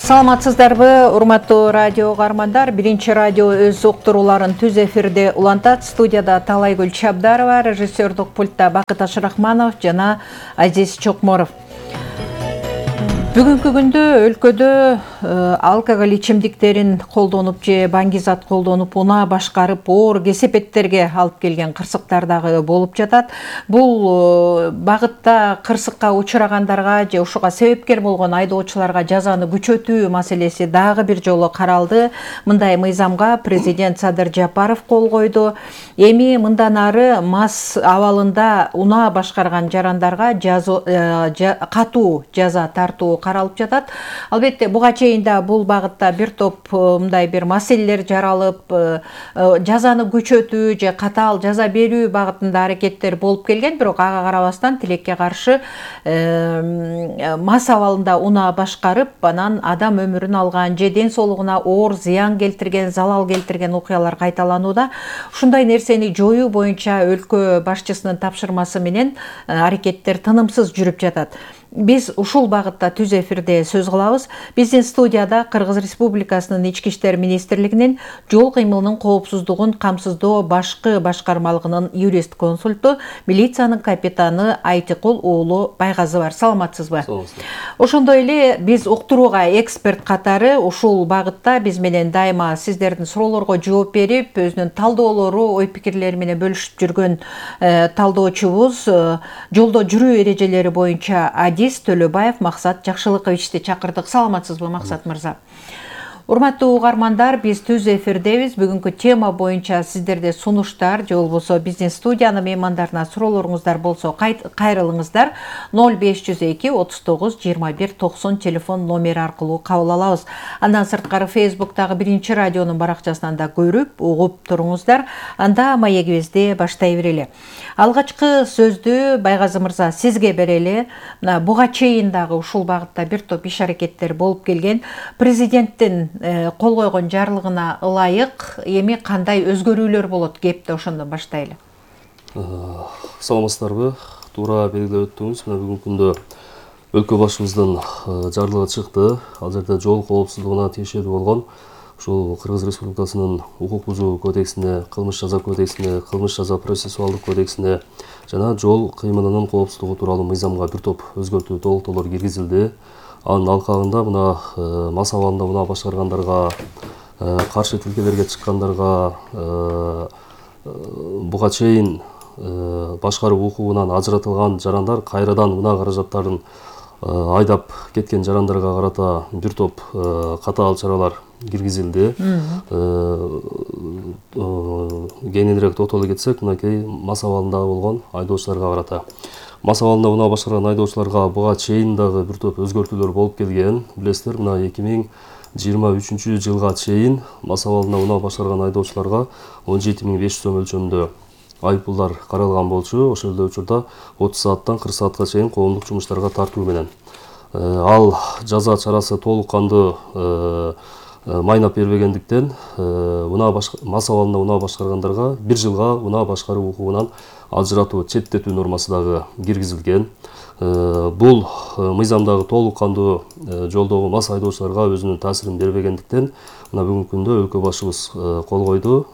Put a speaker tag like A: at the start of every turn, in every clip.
A: Саламатсыздарбы, урматтуу радио угармандар. Биринчи радио өз уктурууларын түз эфирде улантат. Студияда Талайгүл Чабдарова, режиссердук пультта Бакыт Ашрахманов жана Азиз Чокморов. Бүгүнкү күндө өлкөдө алкоголь ичимдиктерин колдонуп же баңгизат колдонуп унаа башкарып оор кесепеттерге алып келген кырсыктар дагы болуп жатат. Бул багытта кырсыкка учурагандарга же ушуга себепкер болгон айдоочуларга жазаны күчөтүү маселеси дагы бир жолу каралды. Мындай мыйзамга президент Садыр Жапаров кол койду. Эми мындан ары мас абалында унаа башкарган жарандарга катуу жаза тартуу каралып жатат. Албетте буга чейин да бул багытта бир топ мындай бир маселелер жаралып, жазаны күчөтүү же катаал жаза берүү багытында аракеттер болуп келген, бирок ага карабастан тилекке каршы мас абалында унаа башкарып, анан адам өмүрүн алган же ден соолугуна оор зыян келтирген, залал келтирген окуялар кайталанууда. Ушундай нерсени жоюу боюнча өлкө башчысынын тапшырмасы менен аракеттер тынымсыз жүрүп жатат. Биз ушул багытта түз эфирде сөз кылабыз. Биздин студияда Кыргыз Республикасынын Ички иштер министрлигинин жол кыймылынын коопсуздугун камсыздоо башкы башкармалыгынын юрист консульту, милициянын капитаны Айтыкул уулу Байгазы бар. Саламатсызбы? Ошондой эле биз уктурууга эксперт катары ушул багытта биз менен дайыма сиздердин суроолорго жооп берип, өзүнүн талдоолору, ой пикирлери менен бөлүшүп жүргөн талдоочубуз, жолдо жүрүү эрежелери боюнча Төлөбаев Максат Жакшылыковичти чакырдык. Саламатсызбы, Максат мырза? Урматтуу угармандар, биз түз эфирдебиз. Бүгүнкү тема боюнча сиздерде сунуштар же болбосо биздин студиянын меймандарына суроолоруңуздар болсо кайрылыңыздар. 0502 39 21 90 телефон номери аркылуу кабыл алабыз. Андан сырткары Facebooктагы Биринчи радионун баракчасынан да көрүп, угуп туруңуздар. Анда маегибизди баштай берели. Алгачкы сөздү Байгазы мырза сизге берели. Буга чейин дагы ушул багытта бир топ иш аракеттер болуп келген. Президенттин кол койгон жарлыгына ылайык эми кандай өзгөрүүлөр болот? Кепти ошондон баштайлы.
B: Саламатсыздарбы? Туура белгилеп өттүңүз. Мына бүгүнкү күндө өлкө башчыбыздын жарлыгы чыкты. Ал жерде жол коопсуздугуна тиешелүү болгон ушул Кыргыз Республикасынын укук бузуу кодексине, кылмыш жаза кодексине, кылмыш жаза процессуалдык кодексине жана жол кыймылынын коопсуздугу тууралуу мыйзамга бир топ өзгөртүү, толуктоолор киргизилди. Анын алкагында мына мас абалында унаа башкаргандарга, каршы тилкелерге чыккандарга, буга чейин башкаруу укугунан ажыратылган жарандар кайрадан унаа каражаттарын айдап кеткен жарандарга карата бир топ катаал чаралар киргизилди. Кеңинирээк токтоло кетсек, мынакей мас абалында болгон айдоочуларга карата. Мас абалында унаа башкарган айдоочуларга буга чейин дагы бир топ өзгөртүүлөр болуп келген. Билесиздер, мына 2023 жылга чейин мас абалында унаа башкарган айдоочуларга 17.500 сом өлчөмүндө айыппулдар каралган болчу. Ошол эле учурда 30 сааттан 40 саатка чейин коомдук жумуштарга тартуу менен. Ал жаза чарасы толук кандуу майнап бербегендиктен мас абалында унаа башкаргандарга 1 жылга унаа башкаруу укугунан ажыратуу, четтетүү нормасы дагы киргизилген. Бул мыйзамдагы толук кандуу жолдогу мас айдоочуларга өзүнүн таасирин бербегендиктен мына бүгүнкү күндө өлкө башчыбыз кол койду.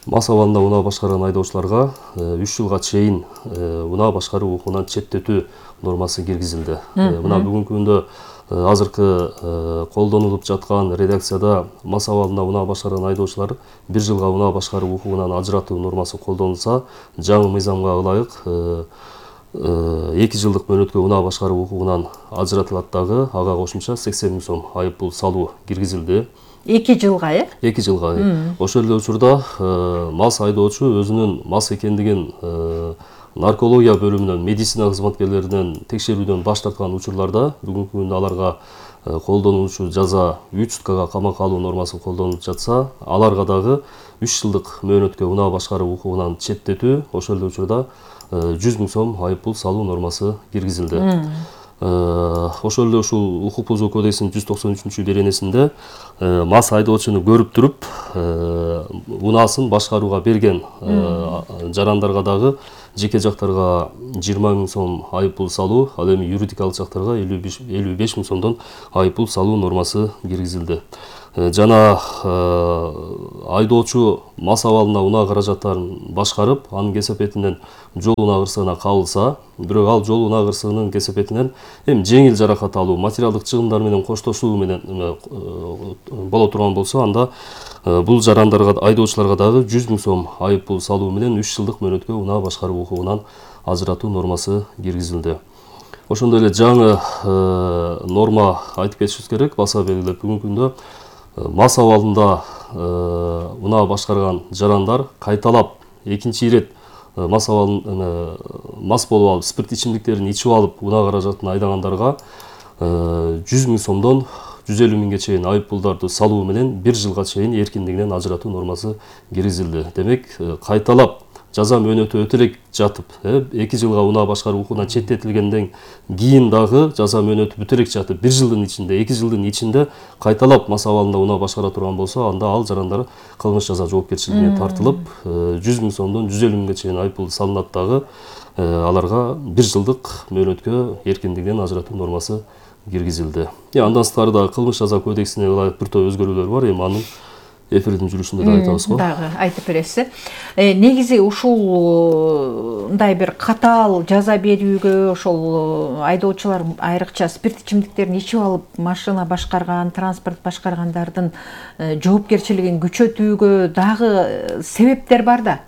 B: Мас абалында унаа башкарган айдоочуларга 3 жылга чейин унаа башкаруу укугунан четтетүү нормасы киргизилди. Мына бүгүнкү күндө азыркы колдонулуп жаткан редакцияда мас абалында унаа башкарган айдоочулар 1 жылга унаа башкаруу укугунан ажыратуу нормасы колдонулса, жаңы мыйзамга ылайык 2 жылдык мөөнөткө унаа башкаруу укугунан ажыратылат дагы, ага кошумча 80 000 сом айыппул салуу киргизилди.
A: 2 жылга,
B: 2 жылга. Ошол эле учурда мас айдоочу өзүнүн мас экендигин наркология бөлүмүнөн, медицина кызматкерлеринен текшерүүдөн баш тарткан учурларда бүгүнкү күндө аларга колдонулуучу жаза 3 суткага камакка алуу нормасы колдонулуп жатса, аларга дагы 3 жылдык мөөнөткө унаа башкаруу укугунан четтетүү, ошол эле учурда 100 000 сом айыппул салуу нормасы киргизилди. Ошол эле ушул укук бузуу кодексинин 193-беренесинде мас айдоочуну көрүп туруп унаасын башкарууга берген жарандарга дагы жеке жактарга 20 000 сом айып пул салуу, ал эми юридикалык жактарга 55 000 сомдон айып пул салуу нормасы киргизилди. Жана айдоочу мас абалында унаа каражаттарын башкарып, анын кесепетинен жол унаа кырсыгына кабылса, бирок ал жол унаа кырсыгынын кесепетинен эми жеңил жаракат алуу, материалдык чыгымдар менен коштошуу менен боло турган болсо, анда бул жарандарга, айдоочуларга дагы 100 000 сом айып пул салуу менен 3 жылдык мөөнөткө унаа башкаруу укугунан ажыратуу нормасы киргизилди. Ошондой эле жаңы норма айтып кетишибиз керек, баса белгилеп бүгүнкү күндө мас абалында унаа башкарган жарандар кайталап экинчи ирет мас болуп алып, спирт ичимдиктерин ичип алып унаа каражатын айдагандарга 100 000 сомдон 150 000 чейин айып пулдарды салуу менен 1 жылга чейин эркиндигинен ажыратуу нормасы киргизилди. Демек, кайталап жаза мөөнөтү өтө элек жатып, 2 жылга унаа башкаруу укугунан четтетилгенден кийин дагы жаза мөөнөтү бүтө элек жатып, 1 жылдын ичинде, 2 жылдын ичинде кайталап мас абалында унаа башкара турган болсо, анда ал жарандар кылмыш жаза жоопкерчилигине тартылып, 100 000 сомдон 150 000 чейин айып пул салынат дагы, аларга 1 жылдык мөөнөткө эркиндигинен ажыратуу нормасы киргизилди. Андан сырткары дагы кылмыш жаза кодексине ылайык бир топ өзгөрүүлөр бар. Эми анын эфирдин жүрүшүндө да айтабыз го.
A: Дагы айтып бересиз. Негизи ушундай бир катаал жаза берүүгө ошол айдоочулар айрыкча спирт ичимдиктерин ичип алып машина башкарган, транспорт башкаргандардын жоопкерчилигин күчөтүүгө дагы себептер бар да.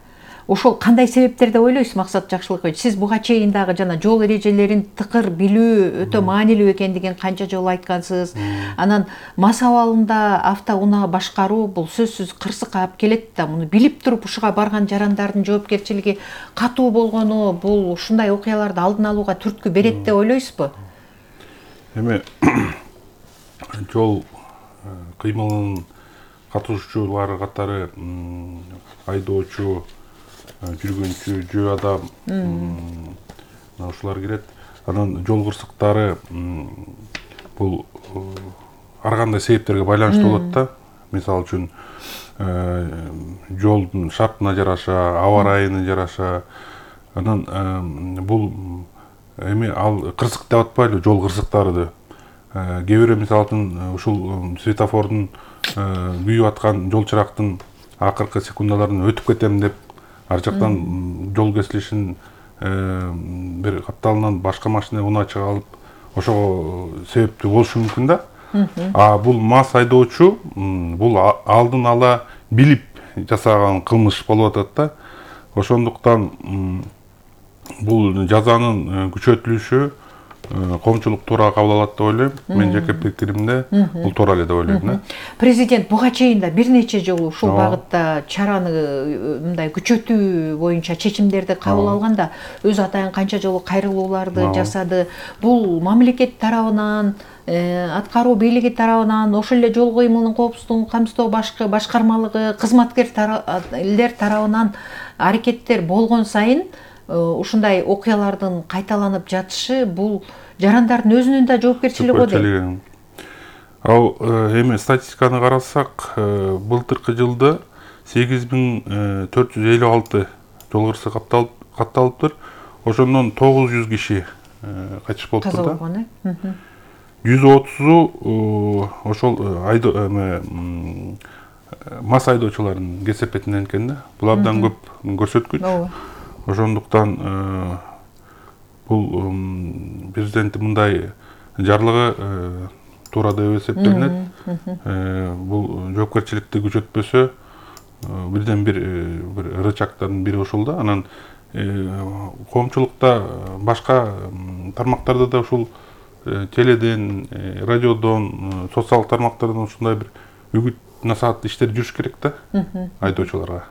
A: Ошол кандай себептер деп ойлойсуз, Максат Жакшылыкович? Сиз буга чейин дагы жана жол эрежелерин тыкыр билүү өтө маанилүү экендигин канча жолу айткансыз. Анан мас абалында автоунаа башкаруу бул сөзсүз кырсыкка алып келет да, муну билип туруп ушуга барган жарандардын жоопкерчилиги катуу болгону бул ушундай окуяларды алдын алууга түрткү берет деп ойлойсузбу?
C: Эми жол кыймылынын катышуучулары катары айдоочу, жүргүнчү, жөө адам, ушулар кирет. Анан жол кырсыктары бул ар кандай себептерге байланыштуу болот да. Мисалы үчүн жолдун шартына жараша, аба ырайына жараша. Анан бул эми ал кырсык деп атпайлы, жол кырсыктары. Кээ бирөө мисалы үчүн ушул светофордун күйүп аткан жол чырактын акыркы секундаларын өтүп кетем деп ар жактан жол кесилишин бир капталынан башка машина унаа чыга алып, ошого себептүү болушу мүмкүн да. А бул мас айдоочу бул алдын ала билип жасаган кылмыш болуп атат да. Ошондуктан бул жазанын күчөтүлүшү коомчулук туура кабыл алат деп ойлойм. Мен жеке пикиримде бул туура эле деп ойлойм.
A: Президент буга чейин да бир нече жолу ушул багытта чараны мындай күчөтүү боюнча чечимдерди кабыл алганда, өз атайын канча жолу кайрылууларды жасады. Бул мамлекет тарабынан, аткаруу бийлиги тарабынан, ошол эле жол кыймылынын коопсуздугун камсыздоо башкармалыгы, кызматкерлер тарабынан аракеттер болгон сайын ушундай окуялардын кайталанып жатышы бул жарандардын өзүнүн да жоопкерчилиги го дейм.
C: Ал эми статистиканы карасак, былтыркы жылда 8456 жол кырсыгы катталыптыр. Ошондон 900 киши кайтыш болуптур да. 130-у ошол мас айдоочулардын кесепетинен экен да. Бул абдан көп көрсөткүч. Ошондуктан бул президенттин мындай жарлыгы туура деп эсептелинет. Бул жоопкерчиликти күчөтпөсө бирден бир рычагдардын бири ушул да. Анан коомчулукта башка тармактарда да ушул теледен, радиодон, социалдык тармактардан ушундай бир үгүт насаат иштер жүрүш керек да айдоочуларга.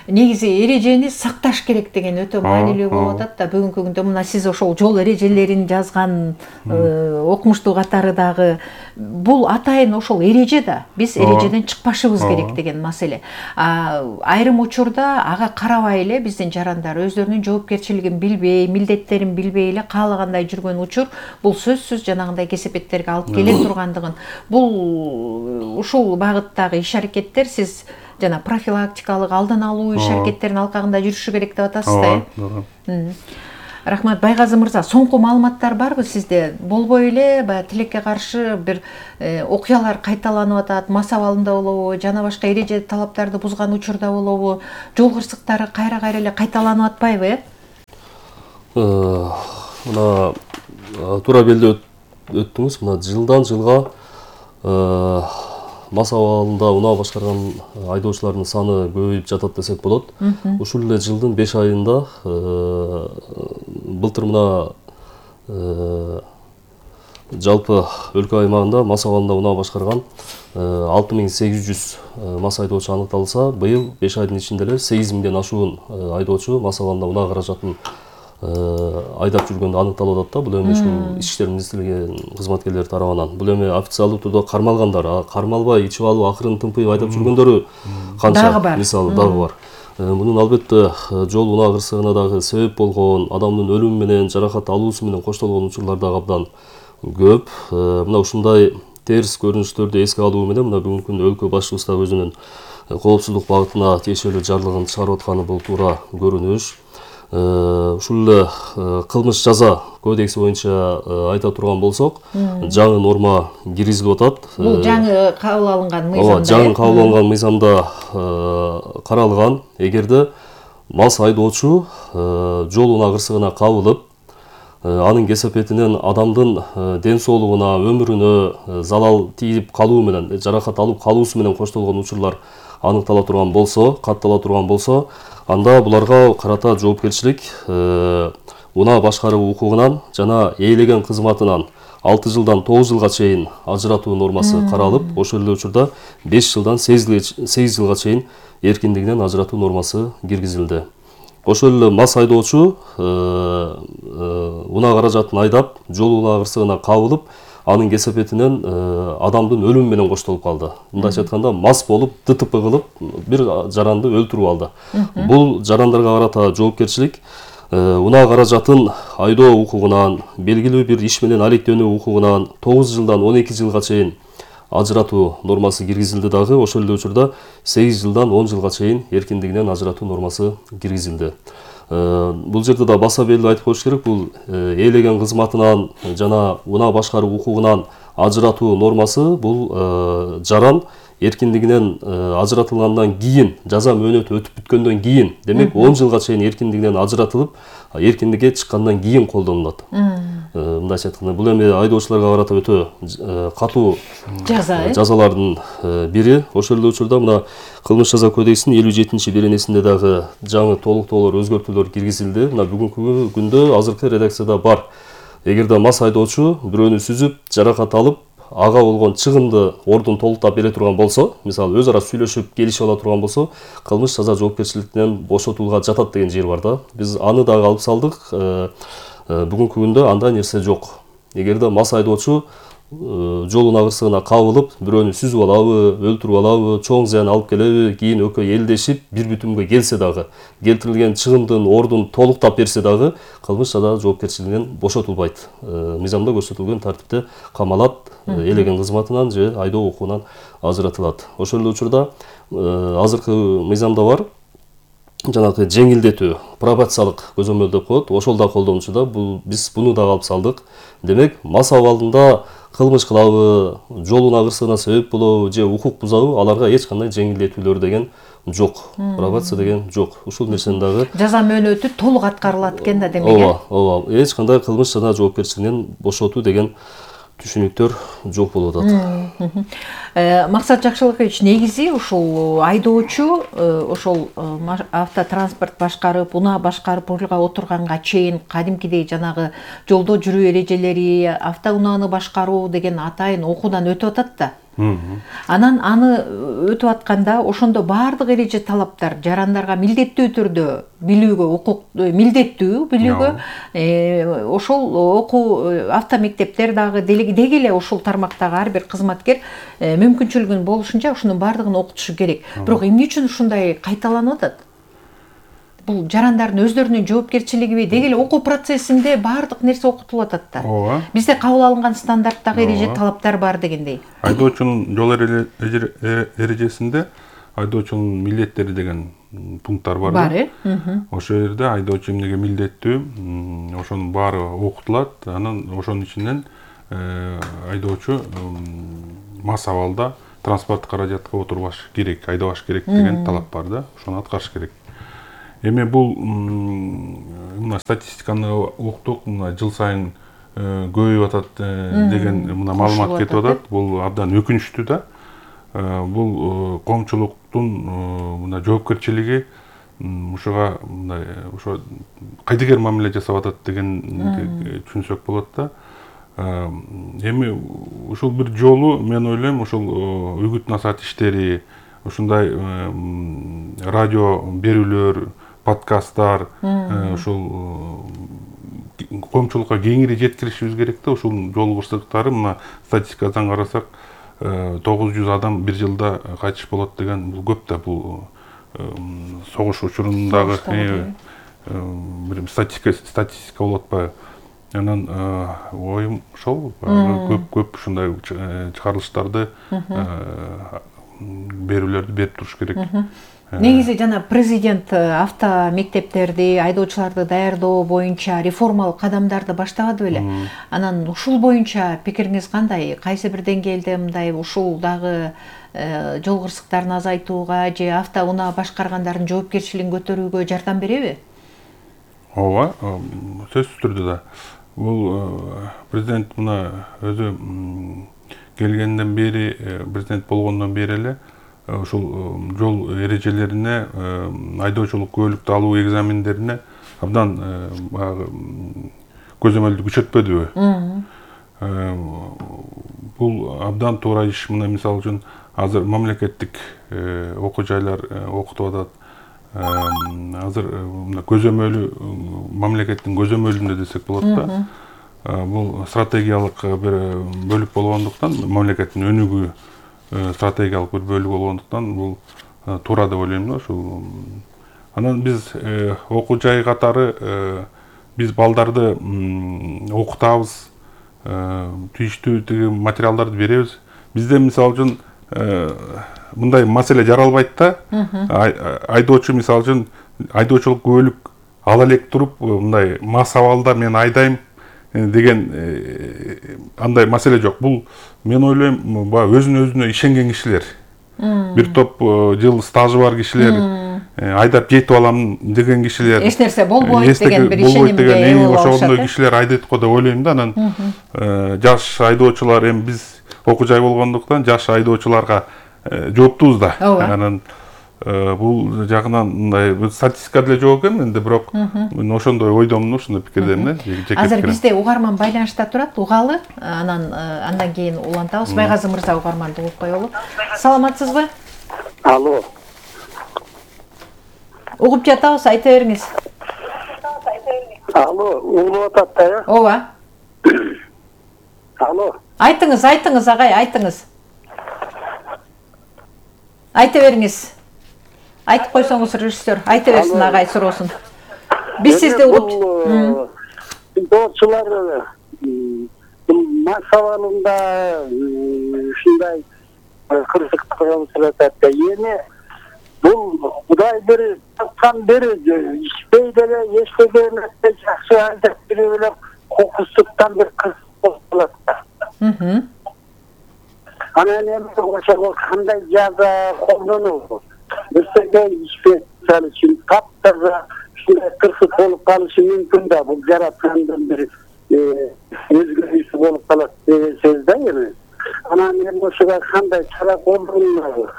A: Негизи эрежени сакташ керек деген өтө маанилүү болуп атат да. Бүгүнкү күндө мына сиз ошол жол эрежелерин жазган окумуштуу катары дагы бул атайын ошол эреже да. Биз эрежеден чыкпашыбыз керек деген маселе. Айрым учурда ага карабай эле биздин жарандар өздөрүнүн жоопкерчилигин билбей, милдеттерин билбей эле каалагандай жүргөн учур бул сөзсүз жанагындай кесепеттерге алып келе тургандыгын, бул ушул багыттагы иш аракеттер сиз жана профилактикалык алдын алуу иш аракеттеринин алкагында жүрүшү керек деп атасыз да. Рахмат. Байгазы мырза, соңку маалыматтар барбы сизде? Болбой эле баягы тилекке каршы бир окуялар кайталанып атат, мас абалында болобу, жана башка эреже талаптарды бузган учурда болобу, жол кырсыктары кайра эле кайталанып атпайбы,
B: Мына туура белде өттүңүз. Мына жылдан жылга мас абалында унаа башкарган айдоочулардын саны көбөйүп жатат десек болот. Ушул эле жылдын 5 айында былтыр мына жалпы өлкө аймагында мас абалында унаа башкарган 6800 мас айдоочу аныкталса, быйыл 5 айдын ичинде эле 8000ден ашуун айдоочу мас абалында унаа каражатын айдап жүргөндө аныкталып атат да. Бул эми ушул ички иштер министрлиги кызматкерлери тарабынан. Бул эми официалдуу түрдө кармалгандар, кармалбай ичип алып акырын тымпыйып айдап жүргөндөрү канча мисалы дагы бар. Мунун албетте жол унаа кырсыгына дагы себеп болгон, адамдын өлүмү менен жаракат алуусу менен коштолгон учурлар дагы абдан көп. Мына ушундай терс көрүнүштөрдү эске алуу менен мына бүгүнкү күндө өлкө башчыбыз да өзүнүн коопсуздук багытына тиешелүү жарлыгын чыгарып атканы бул туура көрүнүш. Ушул эле кылмыш жаза кодекси боюнча айта турган болсок, жаңы норма киргизилип атат.
A: Бул жаңы кабыл алынган мыйзамда.
B: Жаңы кабыл алынган мыйзамда каралган, эгерде мас айдоочу жол унаа кырсыгына кабылып, анын кесепетинен адамдын ден соолугуна, өмүрүнө залал тийип калуу менен, жаракат алып калуусу менен коштолгон учурлар аныктала турган болсо, каттала турган болсо, анда буларга карата жоопкерчилик унаа башкаруу укугунан жана ээлеген кызматынан 6 жылдан 9 жылга чейин ажыратуу нормасы каралып, ошол эле учурда 5 жылдан 8 жылга чейин эркиндигинен ажыратуу нормасы киргизилди. Ошол эле мас айдоочу унаа каражатын айдап, жол унаа кырсыгына кабылып, анын кесепетинен адамдын өлүмү менен коштолуп калды. Мындайча айтканда, мас болуп, ДТП кылып, бир жаранды өлтүрүп алды. Бул жарандарга карата жоопкерчилик унаа каражатын айдоо укугунан, белгилүү бир иш менен алектенүү укугунан 9 жылдан 12 жылга чейин ажыратуу нормасы киргизилди дагы. Ошол эле учурда 8 жылдан 10 жылга чейин эркиндигинен ажыратуу нормасы киргизилди. Бул жерде да баса белгилүү айтып коюш керек, бул ээлеген кызматынан жана унаа башкаруу укугунан ажыратуу нормасы бул жаран эркиндигинен ажыратылгандан кийин, жаза мөөнөтү өтүп бүткөндөн кийин, демек 10 жылга чейин эркиндигинен ажыратылып, эркиндикке чыккандан кийин колдонулат. Мындайча айтканда, бул эми айдоочуларга карата өтө катуу жазалардын бири. Ошол эле учурда мына кылмыш жаза кодексинин 57-беренесинде дагы жаңы толуктоолор, өзгөртүүлөр киргизилди. Мына бүгүнкү күндө азыркы редакцияда бар. Эгерде мас айдоочу бирөөнү сүзүп, жаракат алып, ага болгон чыгымды ордун толуктап бере турган болсо, мисалы өз ара сүйлөшүп келишип ала турган болсо, кылмыш жаза жоопкерчиликтен бошотууга жатат деген жер бар да. Биз аны дагы алып салдык. Бүгүнкү күндө андай нерсе жок. Эгерде мас айдоочу жол унаа кырсыгына кабылып, бирөөнү сүзүп алабы, өлтүрүп алабы, чоң зыян алып келеби, кийин экөө элдешип бир бүтүмгө келсе дагы, келтирилген чыгымдын ордун толуктап берсе дагы, кылмыш жаза жоопкерчилигинен бошотулбайт. Мыйзамда көрсөтүлгөн тартипте камалат, ээлеген кызматынан же айдоо укугунан ажыратылат. Ошол эле учурда азыркы мыйзамда бар жанагы жеңилдетүү, пробациялык көзөмөл деп коет. Ошол да колдонуучу да, биз буну дагы алып салдык. Демек, мас абалында кылмыш кылабы, жол унаа кырсыгына себеп болобу же укук бузабы, аларга эч кандай жеңилдетүүлөр деген жок. Пробация деген жок. Ушул нерсени дагы
A: жаза мөөнөтү толук аткарылат экен да демек.
B: Ооба. Эч кандай кылмыш жана жоопкерчилигинен бошотуу деген түшүнүктөр жок болуп атат.
A: Максат Жакшылыкович, негизи ушул айдоочу ошол автотранспорт башкарып, унаа башкарып рулга отурганга чейин кадимкидей жанагы жолдо жүрүү эрежелери, автоунааны башкаруу деген атайын окуудан өтүп атат да. Анан аны өтүп атканда ошондо баардык эреже талаптар жарандарга милдеттүү түрдө билүүгө укук милдеттүү билүүгө ошол окуу автомектептер дагы деги эле ушул тармактагы ар бир кызматкер мүмкүнчүлүгүнүн болушунча ушунун баардыгын окутушу керек. Бирок эмне үчүн ушундай кайталанып атат? Бул жарандардын өздөрүнүн жоопкерчилигиби? Деги эле окуу процессинде баардык нерсе окутулуп атат да.
C: Ооба.
A: Бизде кабыл алынган стандарттагы эреже талаптар бар дегендей.
C: Айдоочунун жол эрежесинде айдоочунун милдеттери деген пункттар бар.
A: Бар,
C: Ошол жерде айдоочу эмнеге милдеттүү, ошонун баары окутулат. Анан ошонун ичинен айдоочу мас абалда транспорттук каражатка отурбаш керек, айдабаш керек деген талап бар да. Ошону аткарыш керек. Эми бул мына статистиканы уктук, мына жыл сайын көбөйүп атат деген мына маалымат кетип атат. Бул абдан өкүнүчтүү да. Бул коомчулуктун мына жоопкерчилиги ушуга мындай ошо кайдыгер мамиле жасап атат деген түшүнсөк болот да. Эми ушул бир жолу мен ойлойм, ушул үгүт насаат иштери, ушундай радио берүүлөр, подкасттар ушул коомчулукка кеңири жеткиришибиз керек да. Ушул жол кырсыктары мына статистикадан карасак 900 адам бир жылда кайтыш болот деген бул көп да. Бул согуш учурундагы бир статистика болуп атпайбы? Анан оюм ошол көп ушундай чыгарылыштарды берүүлөрдү берип туруш керек.
A: Негизи жана президент авто мектептерди, айдоочуларды даярдоо боюнча реформалык кадамдарды баштабады беле? Анан ушул боюнча пикириңиз кандай? Кайсы бир деңгээлде мындай ушул дагы жол кырсыктарын азайтууга же автоунаа башкаргандардын жоопкерчилигин көтөрүүгө жардам береби?
C: Ооба, сөзсүз түрдө да. Бул президент мына өзү келгенден бери, президент болгондон бери эле ушул жол эрежелерине, айдоочулук күбөлүктү алуу экзамендерине абдан көзөмөлдү күчөтпөдүбү? Бул абдан туура иш. Мына мисалы үчүн азыр мамлекеттик окуу жайлар окутуп атат. Азыр мына көзөмөлү мамлекеттин көзөмөлүндө десек болот да. Бул стратегиялык бир бөлүк болгондуктан, мамлекеттин өнүгүү стратегиялык бир бөлүк болгондуктан бул туура деп ойлойм да. Ушул анан биз окуу жай катары биз балдарды окутабыз, тийиштүү тиги материалдарды беребиз. Бизде мисалы үчүн мындай маселе жаралбайт да. Айдоочу мисалы үчүн айдоочулук күбөлүк ала элек туруп, мындай мас абалда мен айдайм деген андай маселе жок. Бул мен ойлойм, өзүнө өзүнө ишенген кишилер, бир топ жыл стажы бар кишилер, айдап жетип алам деген кишилер,
A: эч нерсе болбойт деген бир ишенимге ээ болуп
C: ошондой кишилер айдайт го деп ойлойм да. Анан жаш айдоочулар, эми биз окуу жай болгондуктан жаш айдоочуларга жооптубуз да. Анан бул жагынан мындай статистика деле жок экен менде, бирок мен ошондой ойдомун, ошондой пикирдемин.
A: Азыр бизде угарман байланышта турат, угалы, андан кийин улантабыз. Байгазы мырза угарманды угуп коелу. Саламатсызбы?
D: Алло.
A: Угуп жатабыз, айта бериңиз.
D: Алло, угулуп атат да?
A: Ооба.
D: Алло.
A: Айтыңыз, агай, айтыңыз. Айта бериңиз. Айтып койсоңуз режиссер, айта берсин агай суроосун. Биз сизди угуп.
D: Айдоочулар мас абалында ушундай кырсыктарга учурашат да. Эми бул Кудай бир тапкан бери ишпей деле эчтеге эмес, жакшы айдап берип эле кокустуктан бир кырсык болуп калат да. Анан эми ошого кандай жаза колдонуу? Бирсеге ишпей үчүн таптаза ушундай кырсык болуп калышы мүмкүн да. Бул жараткандын бир өзгөрүүсү болуп калат деген сөз да эми. Анан эми ошого кандай чара колдонулат?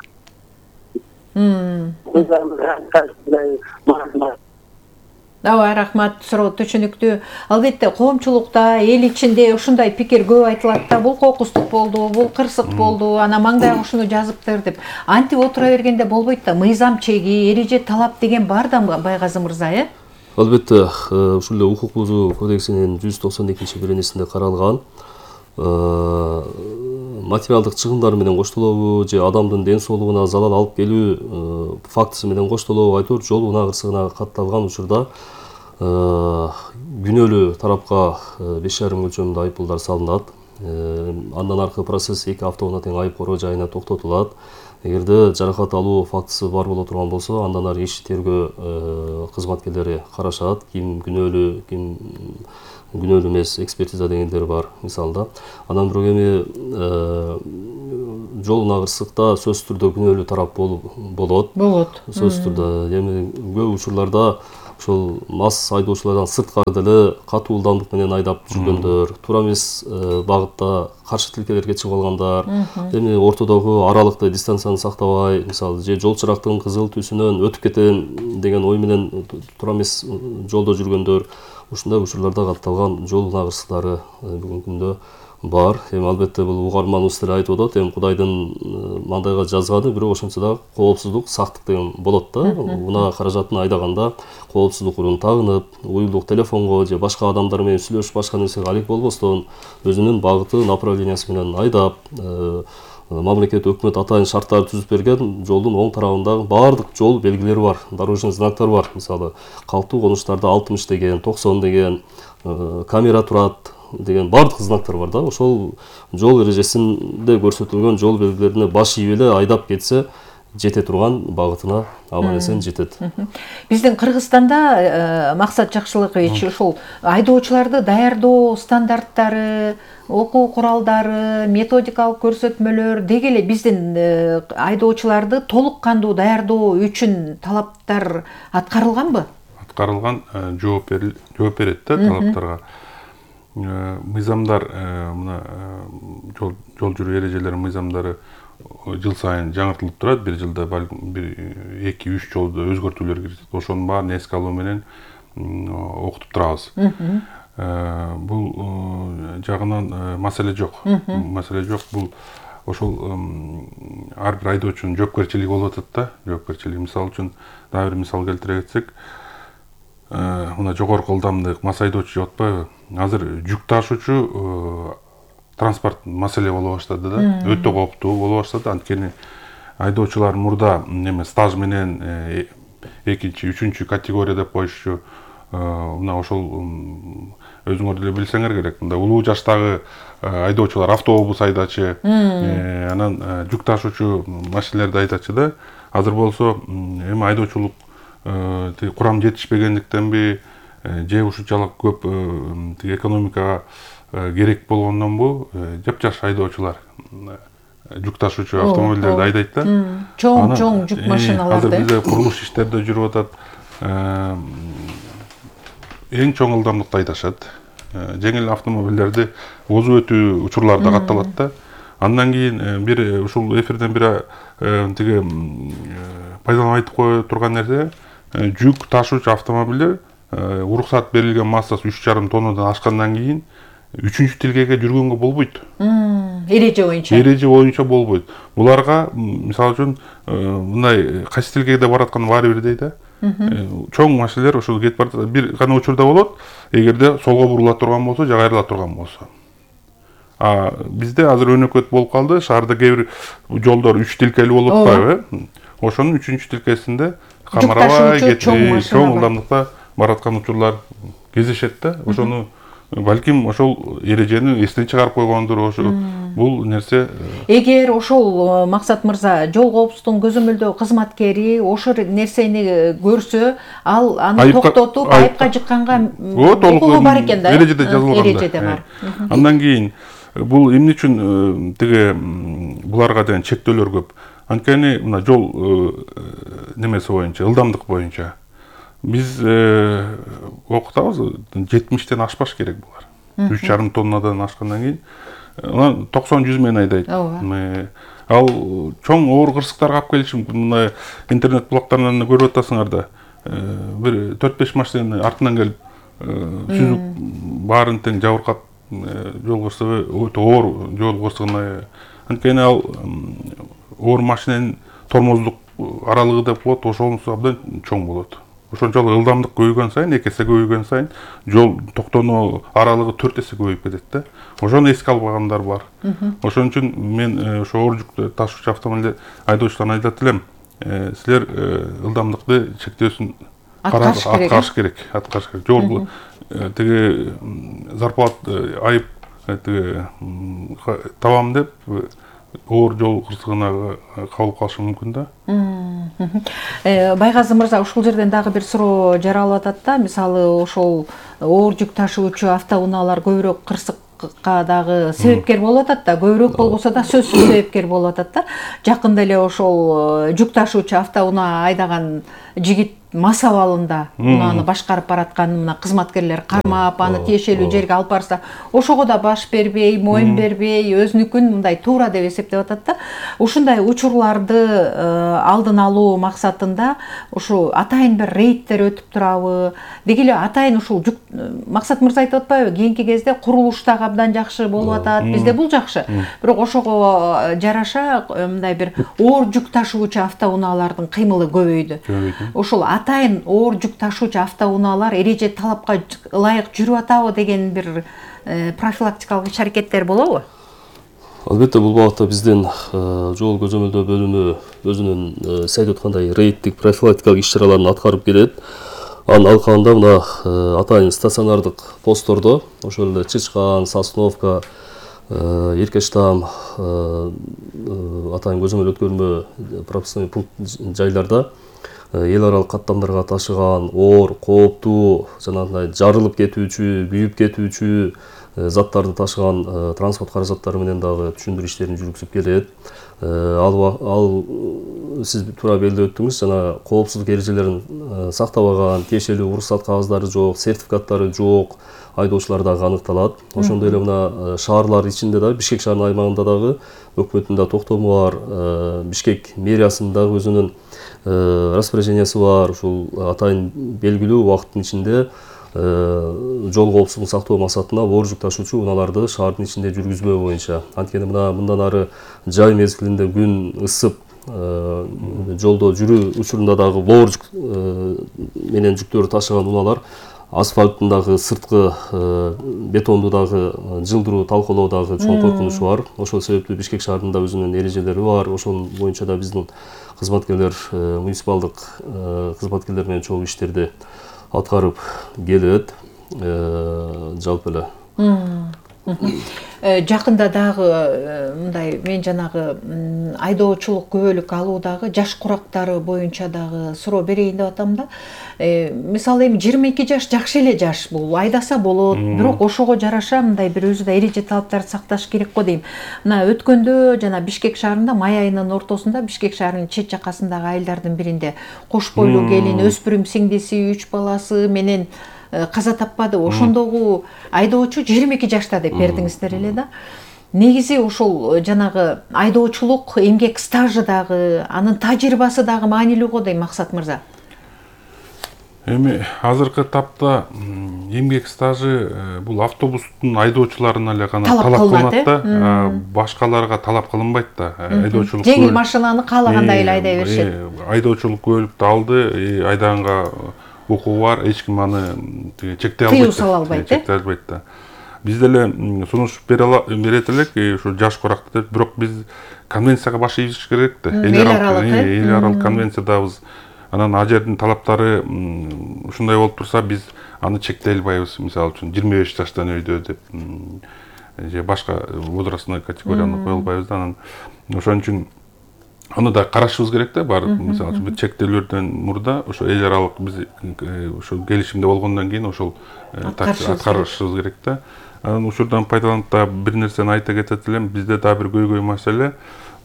A: Ооба, рахмат, суроо түшүнүктүү. Албетте коомчулукта, эл ичинде ушундай пикир көп айтылат да. Бул кокустук болду, бул кырсык болду, ана маңдайга ушуну жазыптыр деп. Антип отура бергенде болбойт да. Мыйзам чеги, эреже талап деген бар да, Байгазы мырза,
B: Албетте, ушул эле укук бузуу кодексинин 192-беренесинде каралган материалдык чыгымдар менен коштолобу же адамдын ден соолугуна залал алып келүү фактысы менен коштолобу айтор жол унаа кырсыгына катталган учурда күнөөлүү тарапка 5,5 өлчөмүндө айыппулдар салынат. Андан аркы процесс 2 автогона тең айып короо жайына токтотулат. Эгерде жаракат алуу фактысы бар боло турган болсо, андан ары иш тергөө кызматкерлери карашат, ким күнөөлүү, ким күнөөлүү эмес, экспертиза дегендер бар мисалда. Андан бирок эми жол кырсыкта сөзсүз түрдө күнөөлүү тарап болот. Сөзсүз түрдө. Эми көп учурларда ошол мас айдоочулардан сырткары деле катуу ылдамдык менен айдап жүргөндөр, туура эмес багытта каршы тилкелерге чыгып алгандар, эми ортодогу аралыкты дистанцияны сактабай, мисалы же жол чырактын кызыл түсүнөн өтүп кетем деген ой менен туура эмес жолдо жүргөндөр, ушундай учурларда катталган жол кырсыктары бүгүнкү күндө бар. Эми албетте бул угарманыбыз деле айтып атат, эми Кудайдын мандайга жазганы, бирок ошентсе да коопсуздук, сактык деген болот да. Мына каражатын айдаганда коопсуздук урун тагынып, уюлдук телефонго же башка адамдар менен сүйлөшүп башка нерсеге алек болбостон, өзүнүн багыты, направлениясы менен айдап, мамлекет өкмөт атайын шарттар түзүп берген жолдун оң тарабындагы баардык жол белгилери бар, дорожный знактар бар. Мисалы, калктуу конуштарда 60 деген, 90 деген, камера турат деген бардык знактар бар да. Ошол жол эрежесинде көрсөтүлгөн жол белгилерине баш ийип эле айдап кетсе, жете турган багытына аман эсен жетет.
A: Биздин Кыргызстанда Максат Жакшылыкович ошол айдоочуларды даярдоо стандарттары, окуу куралдары, методикалык көрсөтмөлөр деги эле биздин айдоочуларды толук кандуу даярдоо үчүн талаптар аткарылганбы?
C: Аткарылган, жооп берет да талаптарга. Мыйзамдар, мына жол жүрүү эрежелери мыйзамдары жыл сайын жаңыртылып турат. Бир жылда балким 2-3 жолдо өзгөртүүлөр кирет. Ошонун баарын эске алуу менен окутуп турабыз. Бул жагынан маселе жок. Бул ошол ар бир айдоочунун жоопкерчилиги болуп атат да. Жоопкерчилиги, мисалы үчүн дагы бир мисал келтире кетсек, мына жогорку ылдамдык мас айдоочу деп атпайбы? Азыр жүк ташуучу транспорт маселе боло баштады да. Өтө кооптуу боло баштады. Анткени айдоочулар мурда стаж менен 2-3 категория деп коюшчу. Мына ошол өзүңөр деле билсеңер керек. Мында улуу жаштагы айдоочулар автобус айдачы, анан жүк ташуучу машиналерди айдачы да. Азыр болсо эми айдоочулук курам жетишпегендиктенби, же ушунчалык көп экономикага керек болгондонбу, жапжаш айдоочулар жүк ташуучу автомобилдерди айдайт да.
A: Чоң жүк машиналарды.
C: Азыр бизде курулуш иштерде жүрүп атат. Эң чоң ылдамдыкта айдашат. Жеңил автомобилдерди озуп өтүү учурлары да катталат да. Андан кийин бир ушул эфирден бир тиги пайдаланып айтып кое турган нерсе, жүк ташуучу автомобилдер уруксат берилген массасы 3,5 тоннадан ашкандан кийин 3-чү тилкеге жүргөнгө болбойт.
A: Эреже боюнча.
C: Эреже боюнча болбойт. Буларга мисалы үчүн мындай кайсы тилкеге бара аткан баары бир дейт да. Чоң машиналар ошол кетип барат. Бир гана учурда болот, эгерде солго бурула турган болсо, же кайрыла турган болсо. Бизде азыр өнөкөт болуп калды. Шаарда кээ бир жолдор 3 тилкелүү болуп атпайбы? Ошонун 3-чү тилкесинде камарабай кетип, чоң ылдамдыкта бараткан учурлар кездешет да. Ошону балким ошол эрежени эстен чыгарып койгондур. Бул нерсе.
A: Эгер ошол Максат мырза жол коопсуздугун көзөмөлдөө кызматкери ошол нерсени көрсө, ал аны токтотуп айыпка жыкканга укугу бар экен да.
C: Эрежеде жазылган.
A: Эрежеде бар.
C: Андан кийин бул эмне үчүн тиги буларга деген чектөөлөр көп? Анткени мына жол немеси боюнча, ылдамдык боюнча биз окутабыз, 70-тен ашпаш керек булар. 3,5 тоннадан ашкандан кийин 90-100 менен айдайт. Ал чоң оор кырсыктарга алып келиши мүмкүн. Мына интернет блоктарынан көрүп атасыңар да. Бир 4-5 машинаны артынан келип сүзүп баарын тең жабыркап, жол кырсыгы өтө оор жол кырсыгына. Анткени ал оор машинанын тормоздук аралыгы деп болот, ошонусу абдан чоң болот. Ошончолук ылдамдык көбөйгөн сайын, 2 эсе көбөйгөн сайын жол токтонуу аралыгы 4 эсе көбөйүп кетет да. Ошону эске албагандар бар. Ошон үчүн мен ошо оор жүк ташуучу автомобиль айдоочуларына айтат элем, силер ылдамдыкты чектөөсүн аткарыш керек. Жол тиги зарплат айып табам деп оор жол кырсыгына кабылып калышы мүмкүн да.
A: Байгазы мырза, ушул жерден дагы бир суроо жаралып атат да. Мисалы, ошол оор жүк ташуучу автоунаалар көбүрөөк кырсыкка дагы себепкер болуп атат да. Көбүрөөк болбосо да сөзсүз себепкер болуп атат да. Жакында эле ошол жүк ташуучу автоунаа айдаган жигит мас абалында унааны башкарып бараткан мына кызматкерлер кармап, аны тиешелүү жерге алып барса, ошого да баш бербей, моюн бербей, өзүнүкүн мындай туура деп эсептеп атат да. Ушундай учурларды алдын алуу максатында ушу атайын бир рейдтер өтүп турабы? Деги эле атайын ушул жүк, Максат мырза айтып атпайбы, кийинки кезде курулуш дагы абдан жакшы болуп атат. Бизде бул жакшы. Бирок ошого жараша мындай бир оор жүк ташуучу автоунаалардын кыймылы көбөйдү. Ошол атайын оор жүк ташуучу автоунаалар эреже талапка ылайык жүрүп атабы деген бир профилактикалык иш-аракеттер болобу?
B: Албетте, бул багытта биздин жол көзөмөлдөө бөлүмү өзүнүн сайт өткандай рейдтик профилактикалык иш-чараларын аткарып келет. Анын алкагында мына атайын стационардык посттордо, ошол эле Чычкан, Сосновка, Эркештам атайын көзөмөл өткөрмө пропускной пункт жайларда эл аралык каттамдарга ташыган оор, кооптуу, жанагындай жарылып кетүүчү, күйүп кетүүчү заттарды ташыган транспорт каражаттары менен дагы түшүндүрүү иштерин жүргүзүп келет. Ал сиз туура белгилеп өттүңүз, жана коопсуздук эрежелерин сактабаган, тиешелүү уруксат кагаздары жок, сертификаттары жок айдоочулар дагы аныкталат. Ошондой эле мына шаарлар ичинде дагы, Бишкек шаарынын аймагында дагы өкмөттүн да токтому бар, Бишкек мэриясынын дагы өзүнүн распоряжениясы бар. Ушул атайын белгилүү убакыттын ичинде жол коопсуздугун сактоо максатында оор жүк ташуучу унааларды шаардын ичинде жүргүзмөө боюнча. Анткени мындан ары жай мезгилинде күн ысып, жолдо жүрүү учурунда дагы оор жүк менен жүктөрдү ташыган унаалар асфальттын дагы сырткы бетонду дагы жылдыруу, талкалоо дагы чоң коркунучу бар. Ошол себептүү Бишкек шаарынын да өзүнүн эрежелери бар. Ошол боюнча да биздин кызматкерлер, муниципалдык кызматкерлер менен чогуу иштерди аткарып келет. Жалпы эле
A: Жакында дагы мындай мен жанагы айдоочулук күбөлүк алуудагы жаш курактары боюнча дагы суроо берейин деп атам да. Мисалы эми 22 жаш жакшы эле жаш, бул айдаса болот, бирок ошого жараша мындай бир өзү да эреже талаптарды сакташ керек го дейм. Мына өткөндө жана Бишкек шаарында май айынын ортосунда Бишкек шаарынын чет жакасындагы айылдардын биринде кош бойлуу келин, өспүрүм сиңдиси, 3 баласы менен каза таппады. Ошондогу айдоочу 22 жашта деп бердиңиздер эле да. Негизи ошол жанагы айдоочулук эмгек стажы дагы, анын тажрыйбасы дагы маанилүү го дейм, Максат мырза.
C: Эми азыркы тапта эмгек стажы бул автобустун айдоочуларына эле гана талап кылынат да, башкаларга талап кылынбайт да. Айдоочулук
A: жеңил машинаны каалагандай эле айдай беришет.
C: Айдоочулук көлүктү алды, айдаганга укугу бар, эч ким аны чектей албайт.
A: Тыюу сала албайт,
C: чектей албайт да. Биз деле сунуш берет элек, ушу жаш куракты деп, бирок биз конвенцияга баш ийиш керек да. Эл аралык конвенциядабыз. Анан ал жердин талаптары ушундай болуп турса, биз аны чектей албайбыз. Мисалы үчүн 25 жаштан өйдө деп, же башка возрастной категорияны кое албайбыз да. Анан ошон үчүн аны да карашыбыз керек да, бар. Мисалы үчүн чектөөлөрдөн мурда ошо эл аралык биз ошо келишимде болгондон кийин ошол аткарышыбыз керек да. Анан ушурдан пайдаланып да бир нерсени айта кетет элем. Бизде да бир көйгөй маселе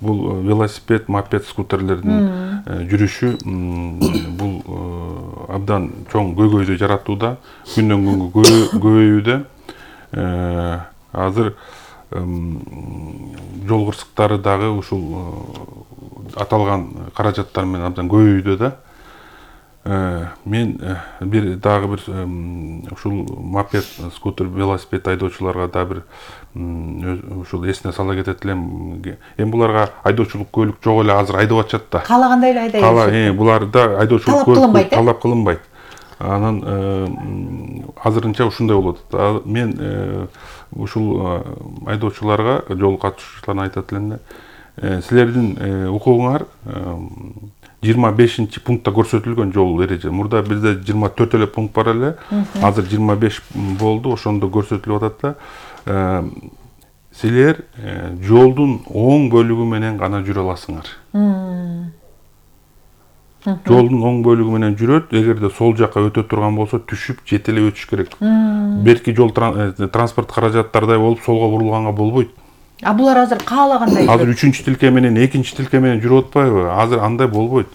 C: бул велосипед, мопед, скутерлердин жүрүшү бул абдан чоң көйгөйдү жаратууда, күндөн күнгө көбөйүүдө. Азыр жол кырсыктары дагы ушул аталган каражаттар менен абдан көбөйүүдө да. Мен дагы бир ушул мопед, скутер, велосипед айдоочуларга да бир ушул эсине сала кетет элем. Эми буларга айдоочулук көлүк жок эле азыр айдап атышат да.
A: Каалагандай эле айдай.
C: Буларда айдоочулук көлүк талап кылынбайт. Анан азырынча ушундай болуп атат. Мен ушул айдоочуларга, жол катышуучуларга айтат элем да, силердин укугуңар 25 пунктта көрсөтүлгөн жол эреже. Мурда бизде 24 эле пункт бар эле. Азыр 25 болду. Ошондо көрсөтүлүп атат да. Силер жолдун оң бөлүгү менен гана жүрө аласыңар. Жолдун оң бөлүгү менен жүрөт. Эгерде сол жакка өтө турган болсо түшүп жетелеп өтүш керек. Берки жол транспорт каражаттардай болуп солго бурулганга болбойт.
A: Булар азыр каалагандай.
C: Азыр 3-чү тилке менен 2-чи тилке менен жүрүп атпайбы? Азыр андай болбойт.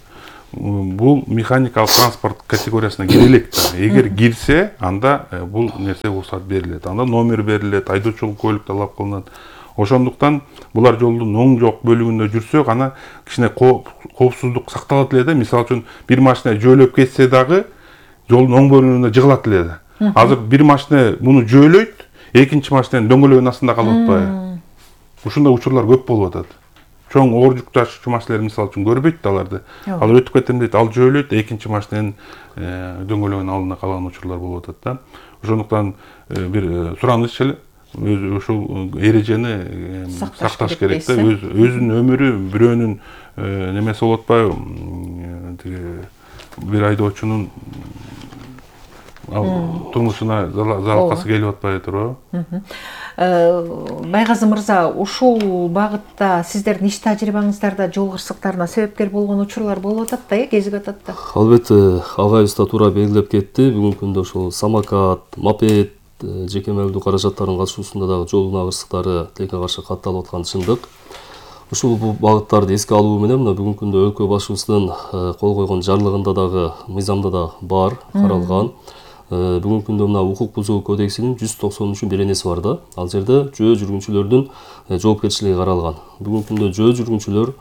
C: Бул механикалык транспорт категориясына кире элек да. Эгер кирсе, анда бул нерсе рұқсат берилет. Анда номер берилет, айдоочулук көлүк талап кылынат. Ошондуктан булар жолдун оң жок бөлүгүндө жүрсө гана кичине коопсуздук сакталат эле да. Мисалы үчүн бир машина жөөлөп кетсе дагы жолдун оң бөлүгүндө жыгылат эле да. Азыр бир машина муну жөөлөйт, экинчи машинанын дөңгөлөгүнүн астында калып атпайбы? Ушундай учурлар көп болуп атат. Чоң оор жүк ташуучу машиналар мисалы үчүн көрбөйт да аларды. Ал өтүп кетем дейт, ал жөөлөйт, экинчи машинанын дөңгөлөгүнүн алдына калган учурлар болуп атат да. Ошондуктан бир сураныч эле ушул эрежени сакташ керек да. Өзүнүн өмүрү бирөөнүн немеси болуп атпайбы? Бир айдоочунун турмушуна залалкасы келип атпай турбу?
A: Байгазы мырза, ушул багытта сиздердин иш тажрыйбаңыздарда жол кырсыктарына себепкер болгон учурлар болуп атат да, кезип атат да.
B: Албетте, агайыбыз да туура белгилеп кетти. Бүгүнкү күндө ошол самокат, мопед, жеке мобилдүү каражаттардын катышуусунда дагы жол унаа кырсыктары тилекке каршы катталып атканы чындык. Ушул багыттарды эске алуу менен мына бүгүнкү күндө өлкө башчыбыздын кол койгон жарлыгында дагы, мыйзамда да бар, каралган. Бүгүнкү күндө мына укук бузуу кодексинин 193-беренеси бар да. Ал жерде жөө жүргүнчүлөрдүн жоопкерчилиги каралган. Бүгүнкү күндө жөө жүргүнчүлөр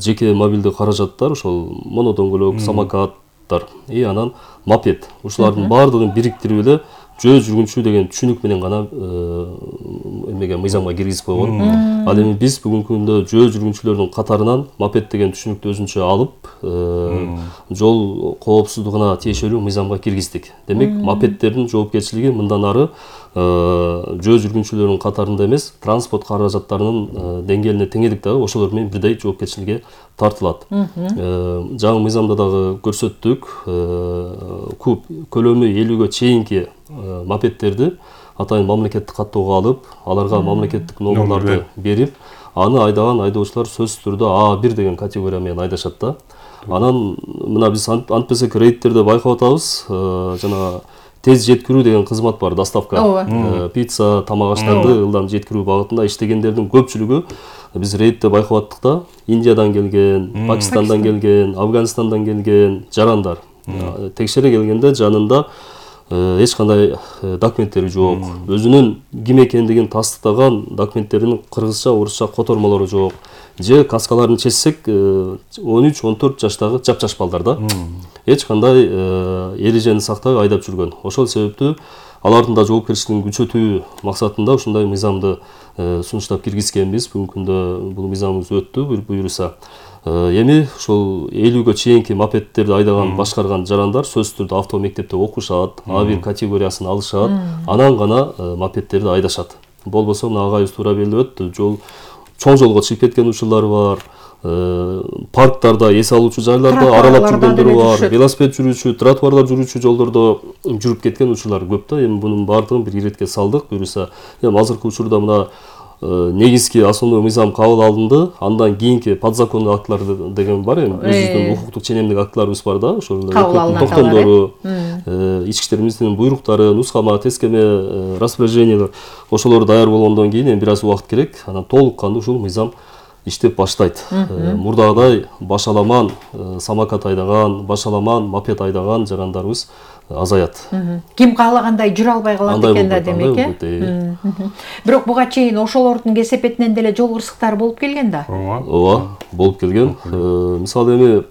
B: жеке мобилдүү каражаттар, ошол монодөңгөлөк, самокаттар, анан мопед. Ушулардын баардыгын бириктирип эле жөө жүргүнчү деген түшүнүк менен гана эмеге мыйзамга киргизип койгон. Ал эми биз бүгүнкү күндө жөө жүргүнчүлөрдүн катарынан мопед деген түшүнүктү өзүнчө алып, жол коопсуздугуна тиешелүү мыйзамга киргиздик. Демек, мопеддердин жоопкерчилиги мындан ары жөө жүргүнчүлөрдүн катарында эмес, транспорт каражаттарынын деңгээлине теңедик дагы ошолор менен бирдей жоопкерчиликке тартылат. Жаңы мыйзамда дагы көрсөттүк, куб көлөмү 50-гө чейинки мопеддерди атайын мамлекеттик каттоого алып, аларга мамлекеттик номерларды берип, аны айдаган айдоочулар сөзсүз түрдө А1 деген категория менен айдашат да. Анан мына биз антпесек рейдтерде байкап атабыз, жана тез жеткирүү деген кызмат бар, доставка. Пицца, тамак аштарды ылдам жеткирүү багытында иштегендердин көпчүлүгү биз рейдте байкап аттык да. Индиядан келген, Пакистандан келген, Афганистандан келген жарандар. Текшере келгенде жанында эч кандай документтери жок. Өзүнүн ким экендигин тастыктаган документтеринин кыргызча, орусча котормолору жок. Же каскаларын чечсек 13-14 жаштагы жапжаш балдар да. Эч кандай эрежени сактабай айдап жүргөн. Ошол себептүү алардын да жоопкерчилигин күчөтүү максатында ушундай мыйзамды сунуштап киргизгенбиз. Бүгүнкү күндө бул мыйзамыбыз өттү, буюрса. Эми ошол 50-гө чейинки мопеддерди айдаган, башкарган жарандар сөзсүз түрдө авто мектепте окушат, А1 категориясын алышат, анан гана мопеддерди айдашат. Болбосо мына агайыбыз туура белгилеп өттү, чоң жолго чыгып кеткен учурлар бар, парктарда, эс алуучу жайларда аралап жүргөндөр бар, велосипед жүрүүчү, тротуарлар жүрүүчү жолдордо жүрүп кеткен учурлар көп да. Эми бунун баардыгын бир иретке салдык, буюрса, эми азыркы учурда мына негизги основной мыйзам кабыл алынды, андан кийинки подзаконный актылар деген бар, эми өзүбүздүн укуктук ченемдик актыларыбыз бар да, ошол токтомдору, ички иштер министринин буйруктары, нускама, тескеме, распоряжениялар, ошолор даяр болгондон кийин эми бир аз убакыт керек, анан толук кандуу ушул мыйзам иштеп баштайт. Мурдагыдай башаламан самокат айдаган, башаламан мопед айдаган жарандарыбыз азаят.
A: Ким каалагандай жүрө албай калат экен да, демек. Бирок буга чейин ошолордун кесепетинен деле жол кырсыктары болуп келген да.
B: Ооба, болуп келген. Мисалы эми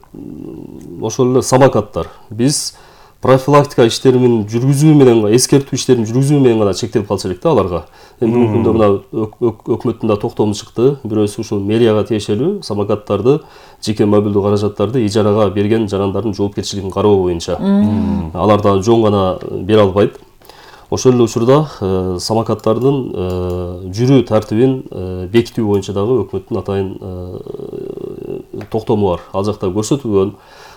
B: ошол эле самокаттар биз профилактика иштерин жүргүзүү менен, эскертүү иштерин жүргүзүү менен гана чектелип калса элек да аларга. Эми бүгүнкү күндө мына өкмөттүн да токтому чыкты. Бирөөсү ушул мэрияга тиешелүү самокаттарды, жеке мобилдүү каражаттарды ижарага берген жарандардын жоопкерчилигин кароо боюнча. Алар да жон гана бере албайт. Ошол эле учурда самокаттардын жүрүү тартибин бекитүү боюнча дагы өкмөттүн атайын токтому бар. Ал жакта көрсөтүлгөн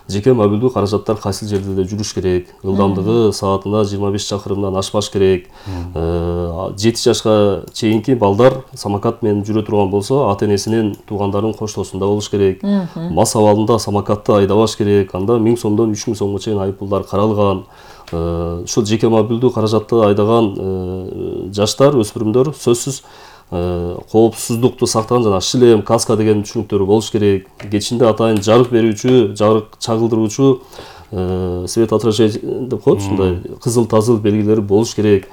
B: жеке мобилдүү каражаттар кайсы жерде жүрүш керек, ылдамдыгы саатына 25 чакырымдан ашпаш керек. 7 жашка чейинки балдар самокат менен жүрө турган болсо, ата-энесинин туугандарынын коштоосунда болуш керек. Мас абалында самокатты айдабаш керек. Анда 1000 сомдон 3000 сомго чейин айыппулдар каралган. Ушул жеке мобилдүү каражатты айдаган жаштар, өспүрүмдөр сөзсүз коопсуздукту сактаган, жана шлем, каска деген түшүнүктөрү болуш керек. Кечинде атайын жарык берүүчү, жарык чагылдыруучу свет отражитель деп коет, ушундай кызыл тазыл белгилери болуш керек.